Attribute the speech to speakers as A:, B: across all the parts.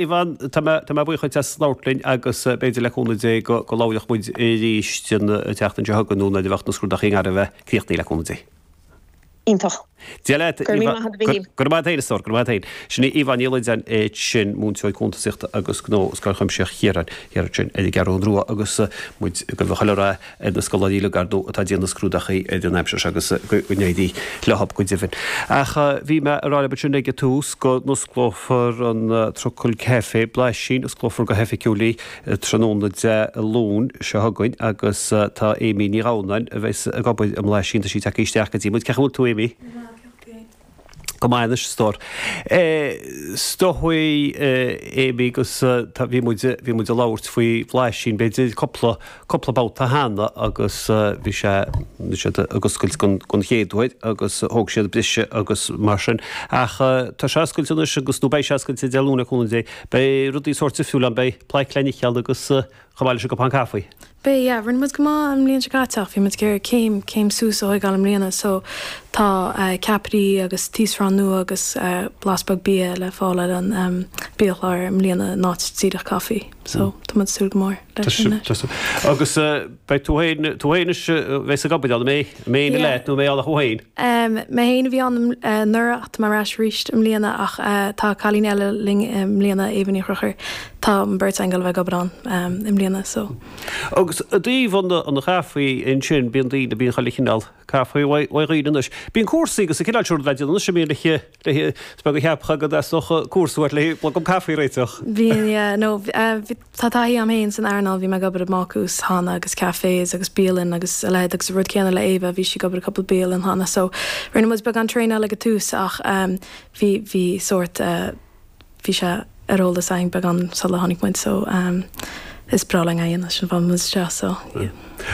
A: Yvonne, tá mé, tá mé buíoch dhuit as labhairt linn agus b'fhéidir le cúnamh Dé go, go labhróidh muid arís an tseachtain seo chugainn nó nuair a bheadh na scrúdachaí i ngar a bheith críochnaithe le cúnamh Dé.
B: Iontach.
A: Dia leat,
B: Go raibh míle maith agat, a Mhíchíl.
A: Go raibh maith agat féin, a stór, go raibh maith agat féin. Sin í Yvonne Ní Loideáin ansin, múinteoir cuntasaíochta agus gnó i Scoil Chuimsitheach Chiaráin thiar ansin ar an gCeathrú Rua agus muid ag gabháil chuile rath ar na scoláirí uilig ar ndóigh atá ag déanamh na scrúdachaí ar an aimsir seo agus go n-éirí leo go deimhin. Ach bhí mé ag rá libh ansin ag an tús go n-osclófar an Trucail Café Blaisín, osclófar go hoifigiúil í tráthnóna Dé Luain seo chugainn agus tá Amy Ní Dhamhnáin a bheas ag obair i mBlaisín, tá sí tagtha isteach go dtí muid. Cén chaoi a bhfuil tú Amy?
C: Go maith, cén chaoi a bhfuil tú féin?
A: Go maith anois, a stór. Is dóigh Amy agus tá, bhí muid, bhí muid ag labhairt faoi Bhlaisín b'fhéidir cúpla, cúpla babhta cheana agus bhí sé, bhí siad ag oscailt don, don chéad uair agus thóg siad briseadh agus mar sin. Ach tá sé oscailte anois agus, nó beidh sé oscailte Dé Luain le cúnamh Dé. Beidh rudaí sórt difriúil ann, beidh plaic le n-ithe ann agus chomh maith leis an gcupán caife.
C: Beidh, yeah. Rinne muid go maith an mbliain seo caite ach bhí muid ag iarraidh céim, céim suas a thóigeáil i mbliana so tá ceapairí agus taosrán nua agus blas beag bia le fáil ar an biachlár i mbliana in áit díreach caife. So tá muid ag súil go mór leis sin
A: anois. Agus beidh tú féin, tú féin anois a bheas ag obair ann, an mbeidh, an mbeidh éinne leat nó an mbeidh ann ach thú féin?
C: Mé féin a bhí ann anuraidh ach tá mé ar ais arís i mbliana ach tá cailín eile linn i mbliana, Éabha Ní Chonchúir. Tá an bheirt againn ag dul a bheith ag obair ann i mbliana so.
A: Agus i dtaobh an chaife ansin, bíonn daoine, bíonn chuile chineál caife uaidh dhaoine anois. Bíonn cúrsaí agus an cineál sin rud le déanamh anois a mbíonn le le is beag a cheapfá go dteastódh cúrsa uait le blogam caife a réiteach.
C: Bíonn yeah no bhí tá taithí agam féin san earnáil, bhí mé ag obair i mbácús cheana agus cafés agus bialann agus a leithéid agus an rud céanna le Éabha, bhí sí ag obair i cúpla bialann cheana so rinne muid beagán traenáil ag an tús ach bhí bhí sórt bhí sé ar eolas againn beagán sula tháinig muid so is breá linn é a dhéanamh sin an fáth a bhfuil muid anseo so yeah.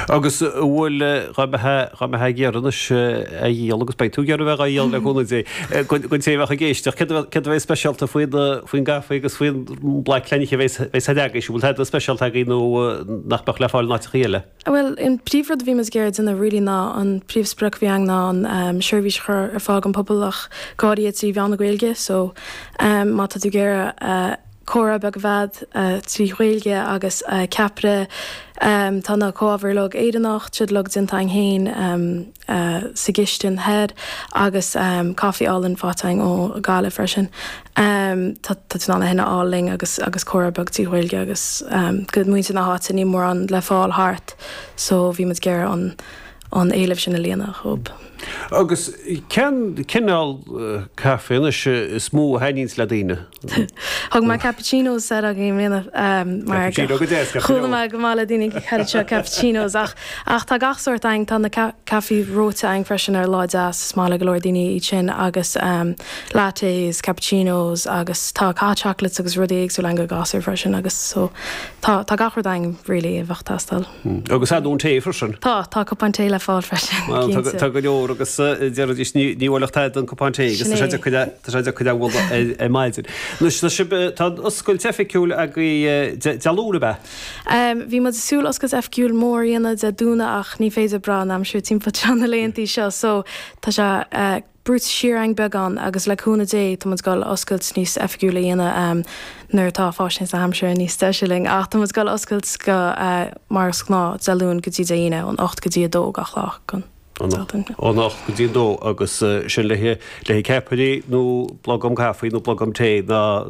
A: Agus an bhfuil, dá mbeifeá, dá mbeifeá ag iarraidh anois a dhíol agus beidh tú ag iarraidh a bheith á dhíol le cúnamh Dé, don té a bheadh ag éisteacht, céard a bheadh, céard a bheidh speisialta faoin, faoin gcaife agus faoin bplaic le n-ithe a bheas, bheas agaibh, an bhfuil tada speisialta agaibh nó nach mbeadh le fáil in áiteachaí eile?
C: Bhuel, an príomhrud a bhí muid ag iarraidh déanamh really ná an príomhsprioc a bhí againn ná an seirbhís a chur ar fáil don pobal ach go háirithe trí mheán na Gaeilge so má tá tú ag iarraidh comhrá beag a bheith agat trí Ghaeilge agus ceapaire tá na comhábhair uilig Éireannach, tá siad uilig déanta againn féin sa gcistin thoir agus caife álainn faighte againn ó Ghaillimh freisin. Tá tú in ann é sin a fháil linn agus agus comhrá beag trí Ghaeilge agus go muintir na háite níl mórán le fáil thart so bhí muid ag iarraidh an an éileamh sin a líonadh dhób.
A: Agus cén cineál caife anois is mó a thaitníonns le daoine?
C: Thug mé cappuccinos soir againn i mbliana mar
A: Cappuccino go deas,
C: ceart go chuala mé go maith le daoine thar seo cappuccinos ach ach tá gach sórt againn, tá na caifí reoite againn freisin ar lá deas, is maith le go leor daoine iad sin agus lattes, cappuccinos agus tá hot chocolates agus rudaí éagsúla againn do ghasúir freisin agus so tá tá gach rud againn really a bheadh ag teastáil.
A: Agus ar ndóigh tae freisin.
C: Tá, tá cupán tae le fáil freisin, cinnte.
A: Tá go leor agus déarfaidís ní bhuailfeadh tada an cupán tae agus tá sé deacair tá sé deacair a bhualadh ar maidin. Anois tá sibh, tá an oscailt oifigiúil agaibh Dé Luain ab
C: ea? Bhí muid ag súil oscailt oifigiúil mór a dhéanamh Dé Domhnaigh ach ní féidir brath an aimsir timpeall seo na laethantaí seo so tá sé brúite siar againn beagán agus le cúnamh Dé tá muid ag dul oscailt níos oifigiúla a dhéanamh nuair atá fáisnéis na haimsire níos deise linn ach tá muid ag dul oscailt go mar is gnáth Dé Luain go dtí Dé hAoine ón 8 go dtí 2 gach lá den
A: tseachtain. Ón 8 go dtí 2 agus sin le haghaidh ceapairí nó blogam caife nó blogam tae ná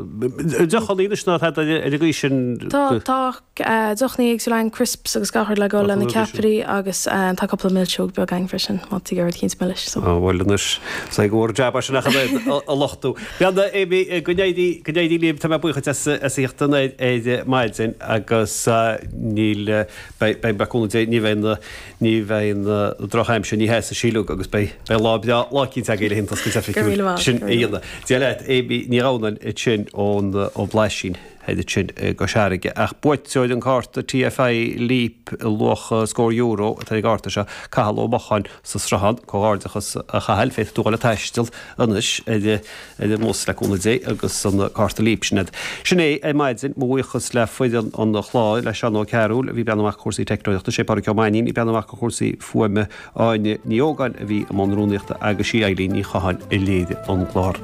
A: deochanna anois ná tada ar an gcaoi sin.
C: Tá tá Deochanna éagsúla againn, crisps agus gach rud le dhul le na ceapairí agus tá cúpla milseog beag againn freisin má tá tú ag iarraidh rud eicínt milis.
A: Á bhuel anois, is é go bhfuair jab as sin ach an oiread a lochtú. Bhuel Amy, go n-éirí, go n-éirí libh, tá mé buíoch duit as a theacht anoir ar maidin agus níl, beidh, beidh, le cúnamh Dé, ní bheidh na, ní bheidh na drochaimsir, ní sheasfaidh sí uilig agus beidh, beidh lá breá, lá eicínt agaibh le haghaidh an oscailt
C: Go raibh míle
A: oifigiúil
C: maith,
A: sin
C: go
A: a
C: raibh míle
A: dhéanamh. Dia leat, Amy Ní Dhomhnaill ansin ón, ó Bhlaisín. Thoir ansin i gCois Fharraige. Ach buaiteoir an cárta TFI Leap i luach scór euro atá ar an gcárta seo, Cathal Ó Mocháin sa Sruthán. Comhghairdeachas a Chathail, féadfaidh tú dhul ag taisteal anois ar an mbus le cúnamh Dé agus an cárta Leap sin agat. Sin é ar maidin, mo bhuíochas le foireann an chláir, le Seán Ó Cearúil a bhí ag breathnú amach ar chúrsaí teicneolaíochta, sé Pádraig Ó Mainnín ag breathnú amach ar chúrsaí fuaime, Áine Ní Ógáin a bhí i mbun rúnaíochta agus sí Eilín Ní Chatháin a léirigh an clár.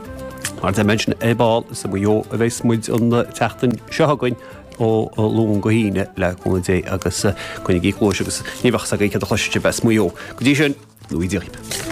A: Mar a deir mé ansin ar ball, is i Maigh Eo a bheas muid an tseachtain seo chugainn ó Luan go hAoine le cúnamh Dé agus coinnigí cluais agus ní bheadh 'fhios agaibh céard a chloisfidh sibh as Maigh Eo. Go dtí sin, go ngnóthaí Dia dhaoibh.